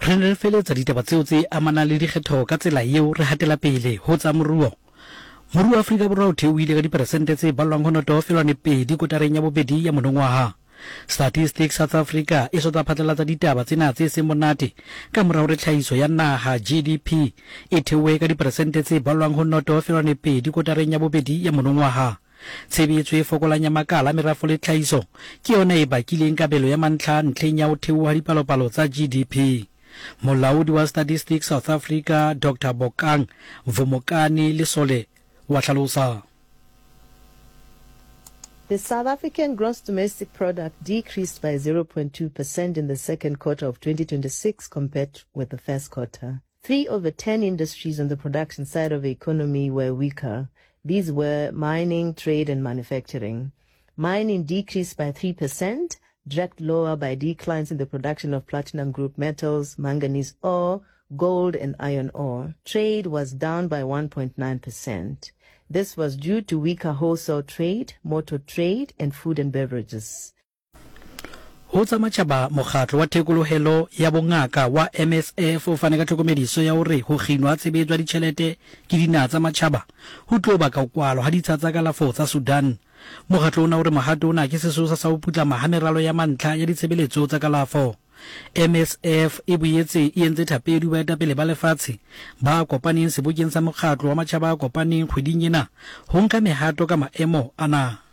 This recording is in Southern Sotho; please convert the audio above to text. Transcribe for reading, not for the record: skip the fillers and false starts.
Re ne re feletsa ditaba tseo tse amanang le dikgetho ka tsela yeo re hatela pele ho tsa moruo. Moruo wa Afrika Borwa o theohile ka diperesente tse ballwang ho noto felwane pedi kotareng ya bobedi ya monongwaha. Statistics South Africa e so tla phatlalatsa ditaba tsena tse seng monate ka mora hore tlhahiso ya naha, GDP, e theohe ka diperesente tse ballwang ho noto felwane pedi kotareng ya bobedi ya monongwaha. Tshebetso e fokolang ya makala a merafo le tlhahiso ke yona e bakileng kabelo ya mantlha ntlheng ya ho theoha dipalopalo tsa GDP. Molaodi wa Statistics South Africa Doctor Bokang Vumukani Lesole wa hlalosa. The South African gross domestic product decreased by 0.2% in the second quarter of 2026 compared with the first quarter. Three of the 10 industries on the production side of the economy were weaker. These were mining, trade and manufacturing. Mining decreased by 3%, dragged lower by declines in the production of platinum group metals, manganese ore, gold and iron ore. Trade was down by 1.9%. This was due to weaker wholesale trade, motor trade and food and beverages. Ho tsa matjhaba, Mokgatlo wa Thekolohelo ya Bongaka wa MSF o fane ka tlhokomediso ya hore ho kginwa ha tshebetso ya ditjhelete ke dinaha tsa matjhaba ho tlo baka ho kwalwa ha ditsha tsa kalafo tsa Sudan. Mokgatlo ona o re mohato ona ke sesosa sa ho putlama ha meralo ya mantlha ya ditshebeletso tsa kalafo. MSF e boetse e entse thapedi ho baetapele ba lefatshe ba kopaneng sebokeng sa Mokgatlo wa Matjhaba a Kopaneng kgweding ena ho nka mehato ka maemo ana.